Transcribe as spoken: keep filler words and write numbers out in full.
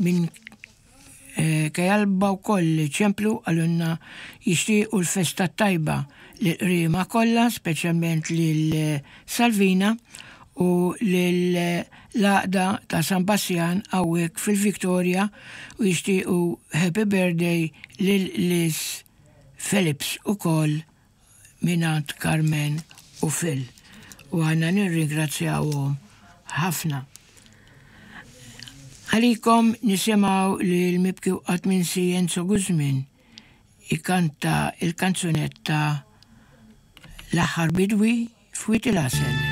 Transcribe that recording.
Minn Kajalba wkoll ċemplu, qalulna jixtiequ l-festa tajba lill-Qriema kollha, speċjalment lil Salvina u l-Għaqda ta' San Bassjan hawnhekk fil-Victoria, u jixtiequ happy birthday lil Liz Phillips ukoll mingħand Carmen u Phil. U aħna nirringrazzjawhom ħafna. Għalikom nisimgħu li l-mibki qatt minsi Enzo Guzmin ikanta il-kanzunetta "L-Aħħar Bidwi f'Wied il-Għasel".